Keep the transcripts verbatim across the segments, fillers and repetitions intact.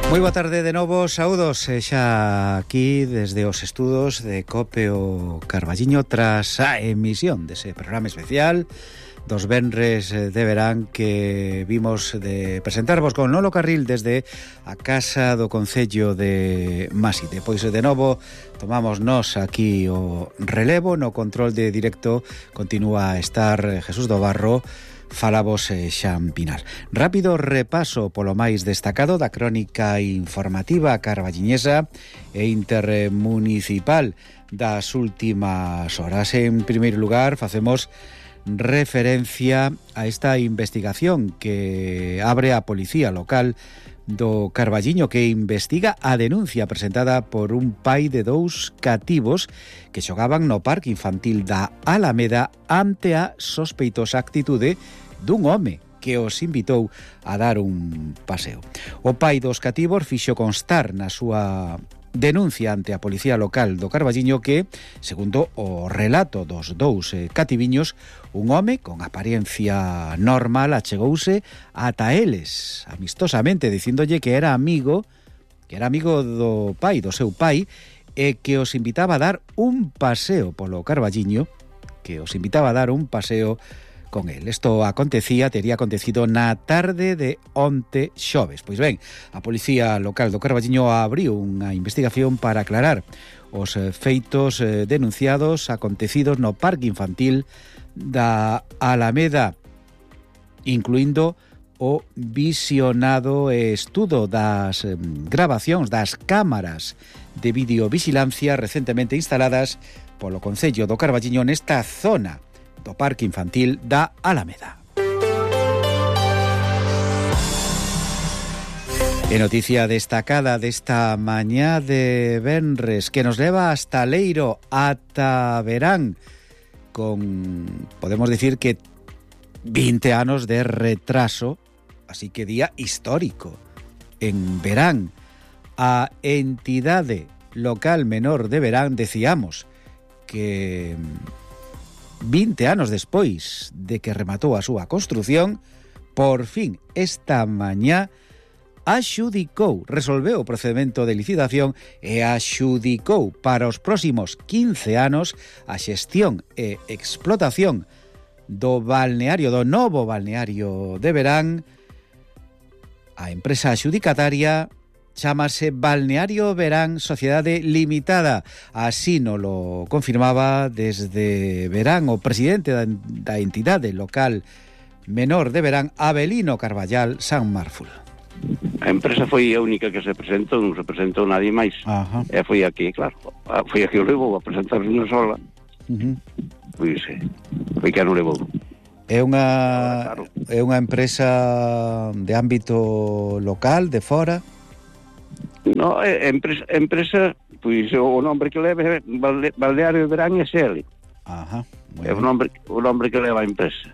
Moi boa tarde de novo, saúdos xa aquí desde os estudos de Cope o Carballiño tras a emisión dese programa especial dos venres de verán que vimos de presentarvos con Nolo Carril desde a Casa do Concello de Maside. Pois de novo tomamos nós aquí o relevo, no control de directo continúa a estar Jesús do Barro, falabos eh, Xan Pinar. Rápido repaso polo máis destacado da crónica informativa carballiñesa e intermunicipal das últimas horas. En primeiro lugar, facemos referencia a esta investigación que abre a Policía Local do Carballiño, que investiga a denuncia presentada por un pai de dous cativos que xogaban no parque infantil da Alameda ante a sospeitosa actitude dun home que os invitou a dar un paseo. O pai dos cativos fixo constar na súa denuncia ante a Policía Local do Carballiño que, segundo o relato dos dous eh, cativiños, un home con apariencia normal achegouse ata eles amistosamente dicíndolle que era amigo que era amigo do pai, do seu pai, e que os invitaba a dar un paseo polo Carballiño, que os invitaba a dar un paseo con el. Esto acontecía, tería acontecido na tarde de onte xoves. Pois ben, a Policía Local do Carballiño abriu unha investigación para aclarar os feitos denunciados acontecidos no parque infantil da Alameda, incluindo o visionado estudo das grabacións das cámaras de videovigilancia recentemente instaladas polo Concello do Carballiño nesta zona do parque infantil da Alameda. E noticia destacada desta mañá de venres que nos leva hasta Leiro, ata Verán, con, podemos decir que vinte anos de retraso, así que día histórico. En Verán, a entidade local menor de Verán, decíamos que vinte anos despois de que rematou a súa construción, por fin esta mañá axudicou, resolveu o procedimento de licitación e axudicou para os próximos quince anos a xestión e explotación do balneario, do novo balneario de Verán. A empresa axudicataria chámase Balneario Verán Sociedade Limitada. Así nos lo confirmaba desde Verán o presidente da, da entidade local menor de Verán, Abelino Carballal San Marful. A empresa foi a única que se presentou, non se presentou nadie máis. Ajá. E foi aquí, claro, foi aquí o levou a presentar unha sola. Uh-huh. Pois foi que non levou. É unha claro. É unha empresa de ámbito local, de fora? No, é empresa, empresa, pois o nombre que leva é Balneario Verán S L. Ajá. É o nombre, o nombre que leva a empresa.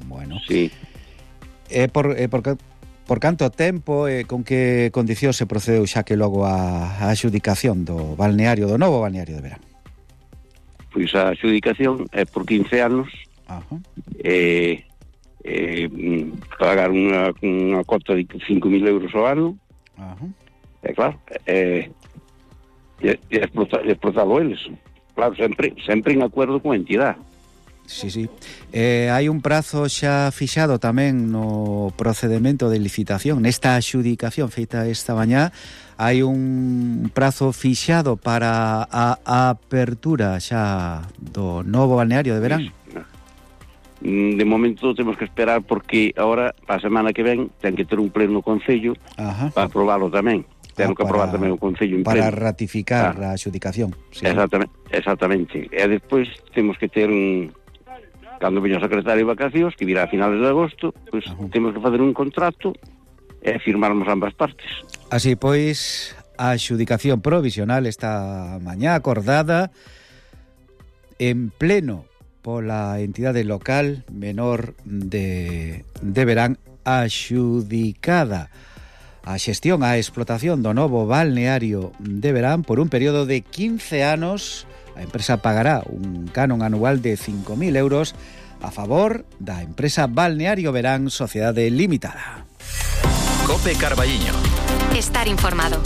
Bueno. Sí. É por é por por canto tempo e con que condicións se procedeu xa que logo a, a adxudicación do balneario, do novo balneario de Verán? Pois a adxudicación é por quince anos. Ajá. E, e pagar unha, unha cota de cinco mil euros ao ano. Ajá. É claro, é, é, é explotado eles. Claro, sempre, sempre en acuerdo con a entidade. Sí, sí. Eh, hai un prazo xa fixado tamén no procedimento de licitación, nesta adxudicación feita esta mañá, hai un prazo fixado para a, a apertura xa do novo balneario de Verán? De momento temos que esperar porque agora, a semana que ven, ten que ter un pleno no Concello. Ajá. Para aprobarlo tamén. Ten ah, que aprobar tamén o Concello en para pleno. Para ratificar ah. a adxudicación. Sí. Exactamente, exactamente. E despois temos que ter un... Cando veña o secretario de vacacións, que virá a finales de agosto, pois pues, temos que fazer un contrato e firmarmos ambas partes. Así pois, a adxudicación provisional esta mañá acordada en pleno pola entidade local menor de, de Verán, axudicada a xestión, a explotación do novo balneario de Verán por un período de quince anos. A empresa pagará un canon anual de cinco mil euros a favor da empresa Balneario Verán Sociedade Limitada. Cope Carballiño. estar informado.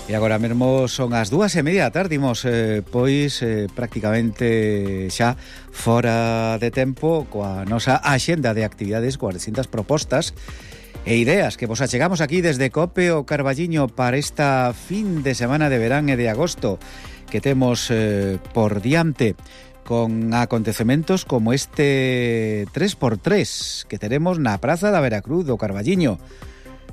E agora mesmo son as dúas e media da tarde, imos eh, pois eh, prácticamente xa fora de tempo coa nosa axenda de actividades, coas distintas propostas e ideas que vos achegamos aquí desde Cope o Carballiño para esta fin de semana de verán e de agosto que temos eh, por diante, con acontecementos como este tres por tres que teremos na Praza da Veracruz do Carballiño,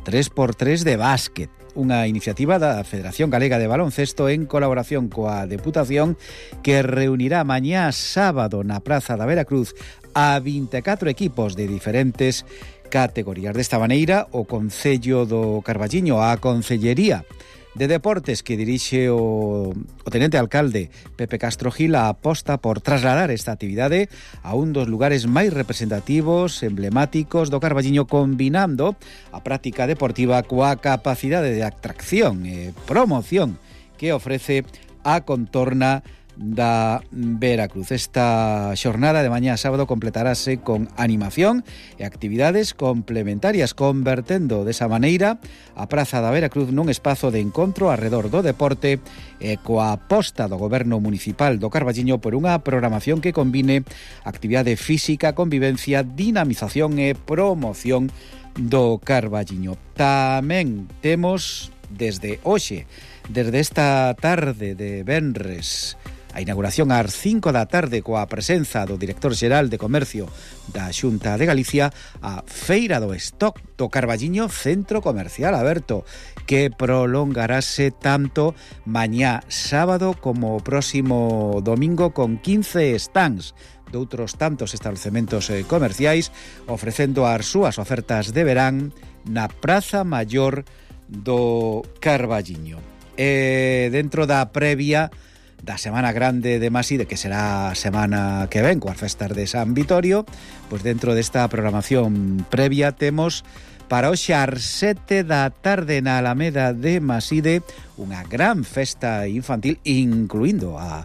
tres por tres de básquet, unha iniciativa da Federación Galega de Baloncesto en colaboración coa Deputación, que reunirá mañá sábado na Praza da Veracruz a vinte e catro equipos de diferentes categorías. Desta maneira, o Concello do Carballiño, a Concellería de Deportes que dirixe o, o tenente alcalde Pepe Castro Gil, aposta por trasladar esta actividade a un dos lugares máis representativos, emblemáticos do Carballiño, combinando a práctica deportiva coa capacidade de atracción e promoción que ofrece a contorna da Veracruz. Esta xornada de mañá sábado completarase con animación e actividades complementarias, convertendo desa maneira a Praza da Veracruz nun espazo de encontro arredor do deporte e coa aposta do Goberno Municipal do Carballiño por unha programación que combine actividade física, convivencia, dinamización e promoción do Carballiño. Tamén temos desde hoxe, desde esta tarde de venres, a inauguración ás cinco da tarde coa presenza do director xeral de Comercio da Xunta de Galicia, a Feira do Stock do Carballiño Centro Comercial Aberto, que prolongarase tanto mañá sábado como o próximo domingo con quince stands de outros tantos establecementos comerciais ofrecendo as súas ofertas de verán na Praza Maior do Carballiño. E dentro da previa da Semana Grande de Maside, que será a semana que ven coas festas de San Vitorio, pois dentro desta programación previa temos para hoxe ás sete da tarde na Alameda de Maside unha gran festa infantil, incluindo a,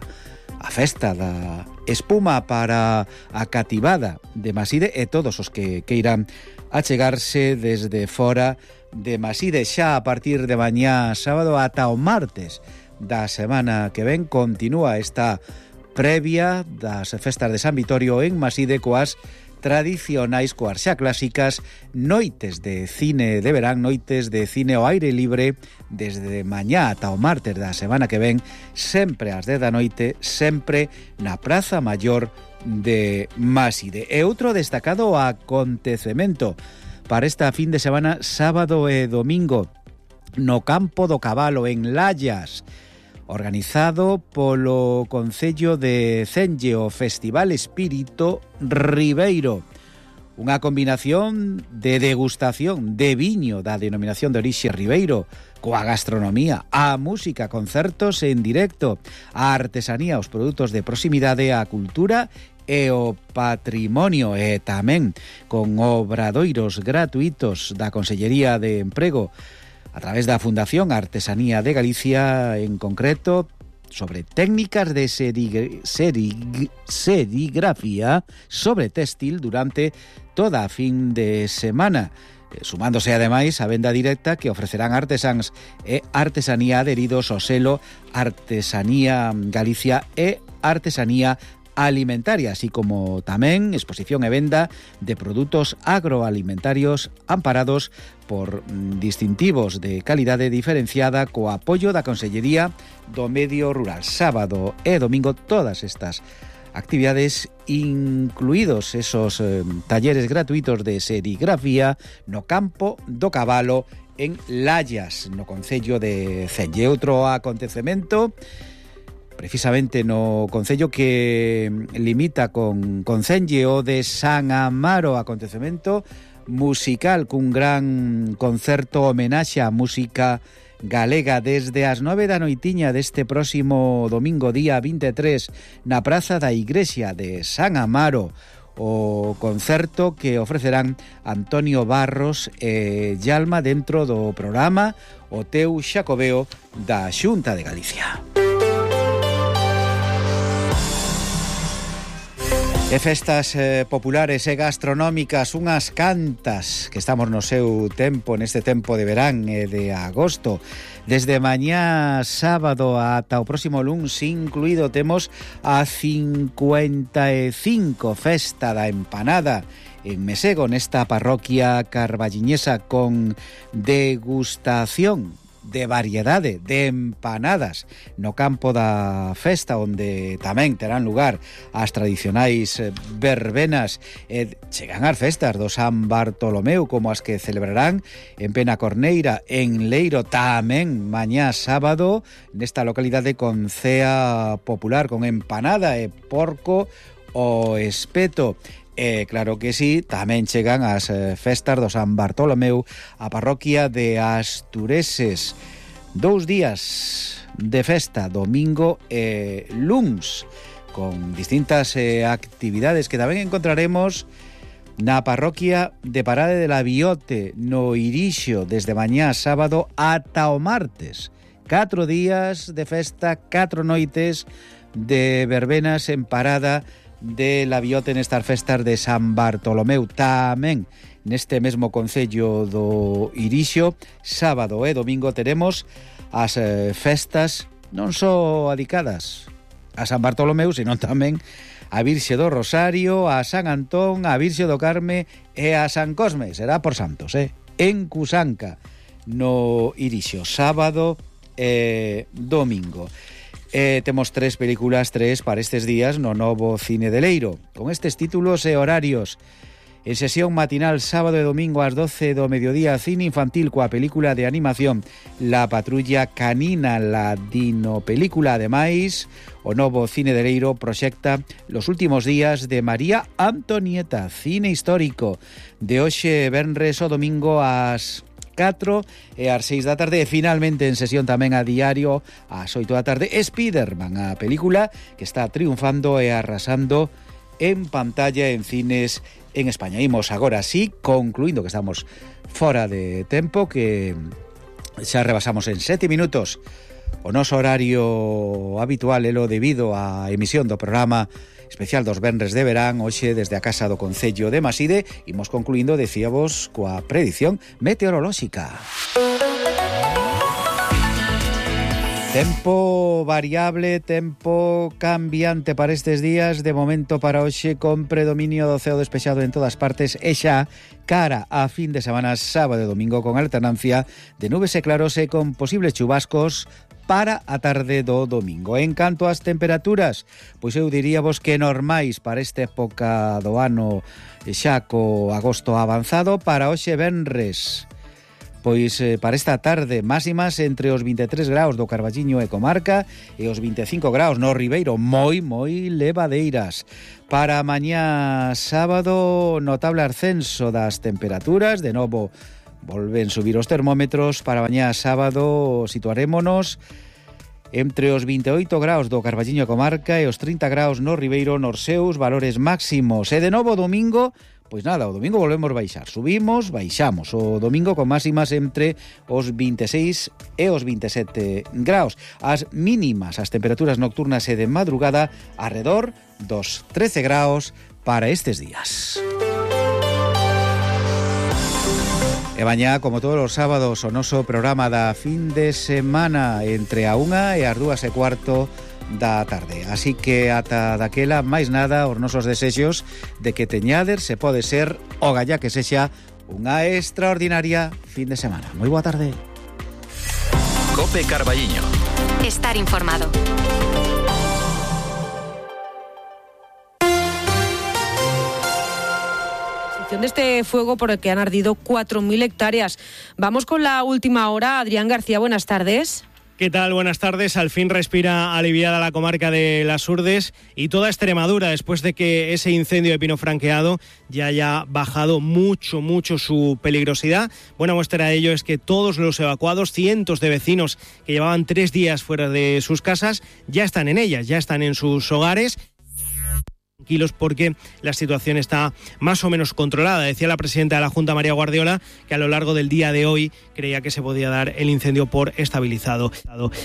a festa da espuma para a cativada de Maside e todos os que queiran achegarse desde fora de Maside. Xa a partir de mañá sábado ata o martes da semana que ven continúa esta previa das festas de San Vitorio en Maside coas tradicionais, coas xa clásicas noites de cine de verán, noites de cine ao aire libre desde mañá ata o martes da semana que ven, sempre ás dez da noite, sempre na Praza Maior de Maside. E outro destacado acontecemento para esta fin de semana, sábado e domingo, no Campo do Cabalo en Lallas, organizado polo Concello de Cenge, o Festival Espírito Ribeiro. Unha combinación de degustación de viño da denominación de orixe Ribeiro, coa gastronomía, a música, concertos en directo, a artesanía, os produtos de proximidade, a cultura e o patrimonio, e tamén con obradoiros gratuitos da Consellería de Emprego a través da Fundación Artesanía de Galicia, en concreto sobre técnicas de serig, serig, serigrafía sobre textil durante toda a fin de semana, sumándose ademais a venda directa que ofrecerán artesáns e artesanía adheridos ao selo Artesanía Galicia e Artesanía Alimentaria, así como tamén exposición e venda de produtos agroalimentarios amparados por distintivos de calidade diferenciada co apoio da Consellería do Medio Rural. Sábado e domingo todas estas actividades, incluídos esos eh, talleres gratuitos de serigrafía no Campo do Cabalo en Lallas, no Concello de Cenge. Outro acontecemento precisamente no concello que limita con, con Cenge, o de San Amaro, acontecemento musical cun gran concerto homenaxe á música galega desde as nove da noitiña deste próximo domingo día vinte e tres na Praza da Igrexa de San Amaro. O concerto que ofrecerán Antonio Barros e Yalma dentro do programa O Teu Xacobeo da Xunta de Galicia. E festas eh, populares e gastronómicas, unhas cantas que estamos no seu tempo, neste tempo de verán e de agosto. Desde mañá sábado ata o próximo luns incluído temos a cincuenta e cinco Festa da Empanada en Mesego, nesta parroquia carballiñesa, con degustación de variedade de empanadas no campo da festa, onde tamén terán lugar as tradicionais verbenas e chegan as festas do San Bartolomeu, como as que celebrarán en Penacorneira, en Leiro, tamén mañá sábado nesta localidade con cea popular, con empanada e porco o espeto. E claro que sí, tamén chegan as eh, festas do San Bartolomeu a parroquia de Astureses. Dous días de festa, domingo e luns, con distintas eh, actividades que tamén encontraremos na parroquia de Parade de la Biote, no Irixo, desde mañá sábado ata o martes. Catro días de festa, catro noites de verbenas en Parada de la Biote nestas festas de San Bartolomeu. Tamén neste mesmo concello do Irixo, sábado e domingo teremos as eh, festas non só adicadas a San Bartolomeu, senón tamén a Virxe do Rosario, a San Antón, a Virxe do Carme e a San Cosme. Será por santos, eh? En Cusanca, no Irixo, sábado e domingo. Eh, temos tres películas, tres para estes días no novo Cine de Leiro, con estes títulos e horarios. En sesión matinal, sábado e domingo ás doce do mediodía, cine infantil coa película de animación La Patrulla Canina, la dino película. Ademais, o novo Cine de Leiro proxecta Los últimos días de María Antonieta, cine histórico, de hoxe venres o domingo ás catro e ás seis da tarde. E finalmente en sesión tamén a diario ás oito da tarde, Spiderman, a película que está triunfando e arrasando en pantalla en cines en España. Imos agora sí, concluindo que estamos fora de tempo, que xa rebasamos en sete minutos o noso horario habitual, elo debido á emisión do programa especial dos venres de verán, hoxe desde a Casa do Concello de Maside. Imos concluindo, decíamos, coa predición meteorolóxica. Tempo variable, tempo cambiante para estes días. De momento para hoxe, con predominio do ceo despexado en todas partes, e xa cara a fin de semana, sábado e domingo, con alternancia de nubes e claros e con posibles chubascos para a tarde do domingo. En canto ás temperaturas, pois eu diríavos que normais para esta época do ano, xa co agosto avanzado. Para hoxe venres, pois eh, para esta tarde, máximas entre os vinte e tres graus do Carballiño e comarca e os vinte e cinco graus no Ribeiro, moi, moi levadeiras. Para mañá sábado, notable ascenso das temperaturas, de novo volven subir os termómetros. Para mañá sábado situarémonos entre os vinte e oito graus do Carballiño e comarca e os trinta graus no Ribeiro, nos seus valores máximos. E de novo domingo, pois nada, o domingo volvemos baixar, subimos, baixamos. O domingo con máximas entre os vinte e seis e os vinte e sete graus. As mínimas, as temperaturas nocturnas e de madrugada, arredor dos trece graus para estes días. E mañá, como todos os sábados, o noso programa da fin de semana entre a unha e as dúas e cuarto da tarde. Así que ata daquela, máis nada, os nosos desexos de que teñader se pode ser o gallá que sexa unha extraordinaria fin de semana. Moi boa tarde. Cope Carballiño. Estar informado. De este fuego por el que han ardido cuatro mil hectáreas. Vamos con la última hora. Adrián García, buenas tardes. ¿Qué tal? Buenas tardes. Al fin respira aliviada la comarca de Las Urdes y toda Extremadura, después de que ese incendio de pino franqueado ya haya bajado mucho, mucho su peligrosidad. Buena muestra de ello es que todos los evacuados, cientos de vecinos que llevaban tres días fuera de sus casas, ya están en ellas, ya están en sus hogares. tranquilos porque la situación está más o menos controlada. Decía la presidenta de la Junta, María Guardiola, que a lo largo del día de hoy creía que se podía dar el incendio por estabilizado.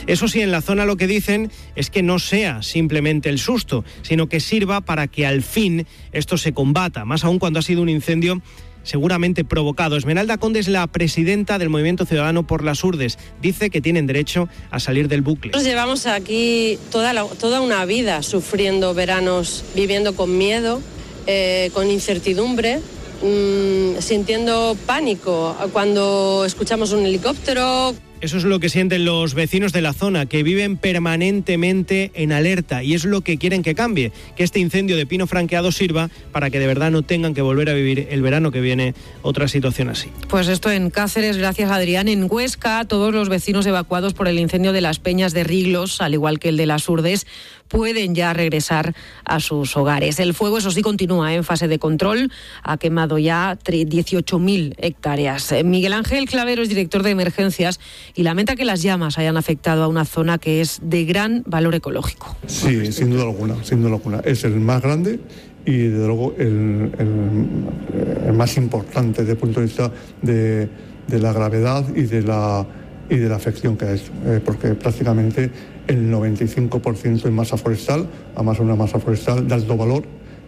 Eso sí, en la zona lo que dicen es que no sea simplemente el susto, sino que sirva para que al fin esto se combata, más aún cuando ha sido un incendio seguramente provocado. Esmeralda Conde es la presidenta del Movimiento Ciudadano por las Urdes. Dice que tienen derecho a salir del bucle. Nosotros llevamos aquí toda, la, toda una vida sufriendo veranos, viviendo con miedo, eh, con incertidumbre, mmm, sintiendo pánico cuando escuchamos un helicóptero. Eso es lo que sienten los vecinos de la zona, que viven permanentemente en alerta, y es lo que quieren que cambie, que este incendio de pino franqueado sirva para que de verdad no tengan que volver a vivir el verano que viene otra situación así. Pues esto en Cáceres, gracias Adrián. En Huesca, todos los vecinos evacuados por el incendio de las Peñas de Riglos, al igual que el de las Urdes, pueden ya regresar a sus hogares. El fuego, eso sí, continúa en fase de control. Ha quemado ya dieciocho mil hectáreas. Miguel Ángel Clavero es director de emergencias y lamenta que las llamas hayan afectado a una zona que es de gran valor ecológico. Sí, sin duda alguna, sin duda alguna. Es el más grande y, desde luego, el, el, el más importante desde el punto de vista de, de la gravedad y de la, y de la afección que es, eh, porque prácticamente el noventa y cinco por ciento es masa forestal, además una masa forestal de alto valor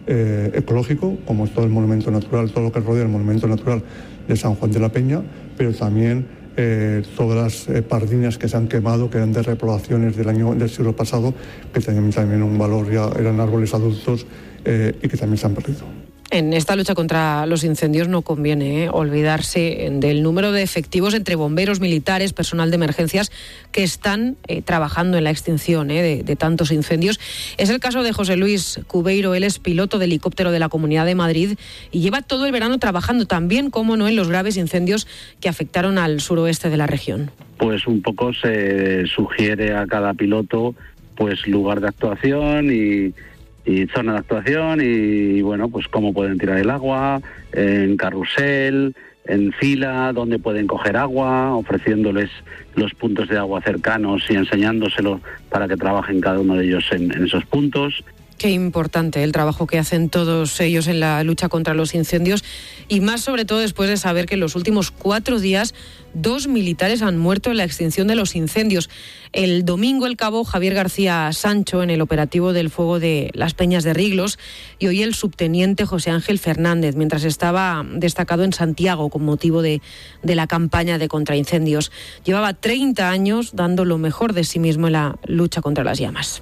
eh, ecológico, como es todo el monumento natural, todo lo que rodea el monumento natural de San Juan de la Peña, pero también eh, todas las eh, pardiñas que se han quemado, que eran de repoblaciones del año del siglo pasado, que tenían también un valor, ya eran árboles adultos eh, y que también se han perdido. En esta lucha contra los incendios no conviene ¿eh? olvidarse del número de efectivos entre bomberos, militares, personal de emergencias que están eh, trabajando en la extinción ¿eh? de, de tantos incendios. Es el caso de José Luis Cubeiro. Él es piloto de helicóptero de la Comunidad de Madrid y lleva todo el verano trabajando también, como no, en los graves incendios que afectaron al suroeste de la región. Pues un poco se sugiere a cada piloto pues lugar de actuación y y zona de actuación y, bueno, pues cómo pueden tirar el agua, en carrusel, en fila, dónde pueden coger agua, ofreciéndoles los puntos de agua cercanos y enseñándoselo para que trabajen cada uno de ellos en, en esos puntos. Qué importante el trabajo que hacen todos ellos en la lucha contra los incendios y más sobre todo después de saber que en los últimos cuatro días dos militares han muerto en la extinción de los incendios. El domingo el cabo Javier García Sancho en el operativo del fuego de las Peñas de Riglos y hoy el subteniente José Ángel Fernández mientras estaba destacado en Santiago con motivo de, de la campaña de contraincendios. Llevaba treinta años dando lo mejor de sí mismo en la lucha contra las llamas.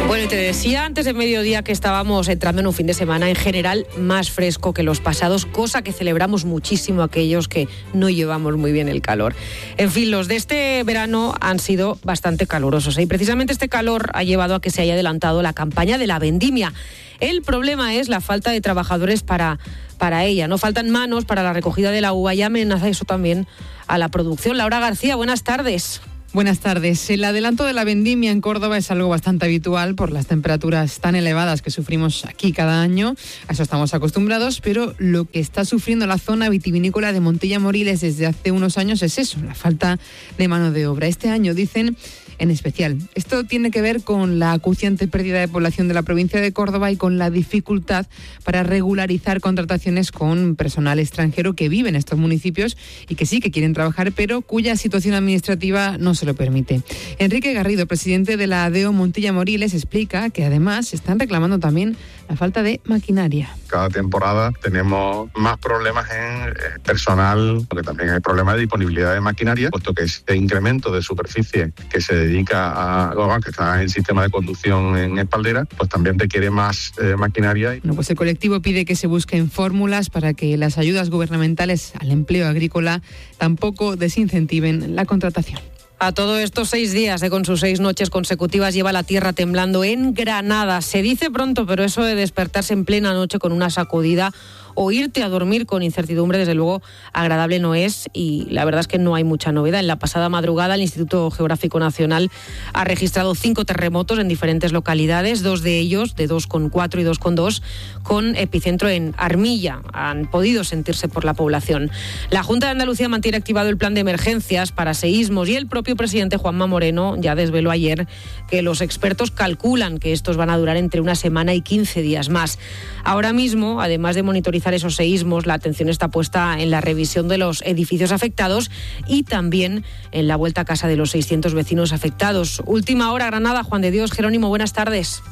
Bueno, y te decía antes de mediodía que estábamos entrando en un fin de semana en general más fresco que los pasados, cosa que celebramos muchísimo aquellos que no llevamos muy bien el calor. En fin, los de este verano han sido bastante calurosos, ¿eh? Y precisamente este calor ha llevado a que se haya adelantado la campaña de la vendimia. El problema es la falta de trabajadores para, para ella. No faltan manos para la recogida de la uva y amenaza eso también a la producción. Laura García, buenas tardes. Buenas tardes. El adelanto de la vendimia en Córdoba es algo bastante habitual por las temperaturas tan elevadas que sufrimos aquí cada año. A eso estamos acostumbrados, pero lo que está sufriendo la zona vitivinícola de Montilla-Moriles desde hace unos años es eso, la falta de mano de obra. Este año, dicen, en especial. Esto tiene que ver con la acuciante pérdida de población de la provincia de Córdoba y con la dificultad para regularizar contrataciones con personal extranjero que vive en estos municipios y que sí que quieren trabajar, pero cuya situación administrativa no se lo permite. Enrique Garrido, presidente de la ADEO Montilla-Moriles, explica que además están reclamando también la falta de maquinaria. Cada temporada tenemos más problemas en personal, porque también hay problemas de disponibilidad de maquinaria, puesto que este incremento de superficie que se dedica a, que está en sistema de conducción en espaldera, pues también requiere más eh, maquinaria. Bueno, pues el colectivo pide que se busquen fórmulas para que las ayudas gubernamentales al empleo agrícola tampoco desincentiven la contratación. A todo esto, seis días eh, con sus seis noches consecutivas lleva la tierra temblando en Granada. Se dice pronto, pero eso de despertarse en plena noche con una sacudida o irte a dormir con incertidumbre, desde luego agradable no es, y la verdad es que no hay mucha novedad. En la pasada madrugada el Instituto Geográfico Nacional ha registrado cinco terremotos en diferentes localidades, dos de ellos, de dos coma cuatro y dos coma dos, con epicentro en Armilla. Han podido sentirse por la población. La Junta de Andalucía mantiene activado el plan de emergencias para seísmos y el propio presidente Juanma Moreno ya desveló ayer que los expertos calculan que estos van a durar entre una semana y quince días más. Ahora mismo, además de monitorizar esos seísmos, la atención está puesta en la revisión de los edificios afectados y también en la vuelta a casa de los seiscientos vecinos afectados. Última hora, Granada. Juan de Dios Jerónimo, buenas tardes.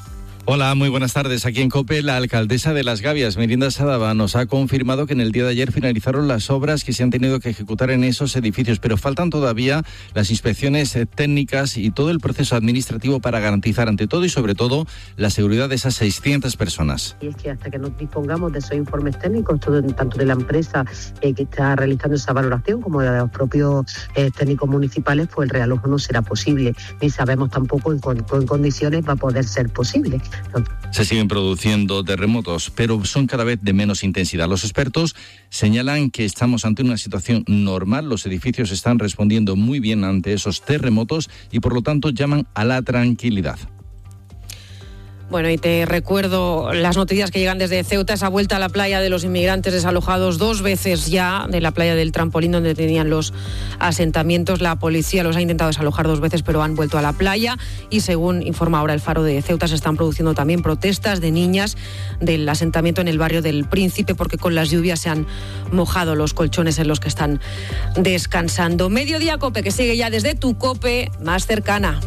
Hola, muy buenas tardes. Aquí en COPE, la alcaldesa de Las Gavias, Merinda Sadaba, nos ha confirmado que en el día de ayer finalizaron las obras que se han tenido que ejecutar en esos edificios, pero faltan todavía las inspecciones técnicas y todo el proceso administrativo para garantizar, ante todo y sobre todo, la seguridad de esas seiscientas personas. Y es que hasta que nos dispongamos de esos informes técnicos, todo, tanto de la empresa eh, que está realizando esa valoración como de los propios eh, técnicos municipales, pues el realojo no será posible, ni sabemos tampoco en, con, en condiciones va a poder ser posible. Se siguen produciendo terremotos, pero son cada vez de menos intensidad. Los expertos señalan que estamos ante una situación normal. Los edificios están respondiendo muy bien ante esos terremotos y, por lo tanto, llaman a la tranquilidad. Bueno, y te recuerdo las noticias que llegan desde Ceuta, esa vuelta a la playa de los inmigrantes desalojados dos veces ya, de la playa del Trampolín, donde tenían los asentamientos. La policía los ha intentado desalojar dos veces, pero han vuelto a la playa. Y según informa ahora el Faro de Ceuta, se están produciendo también protestas de niñas del asentamiento en el barrio del Príncipe, porque con las lluvias se han mojado los colchones en los que están descansando. Mediodía COPE, que sigue ya desde tu COPE más cercana.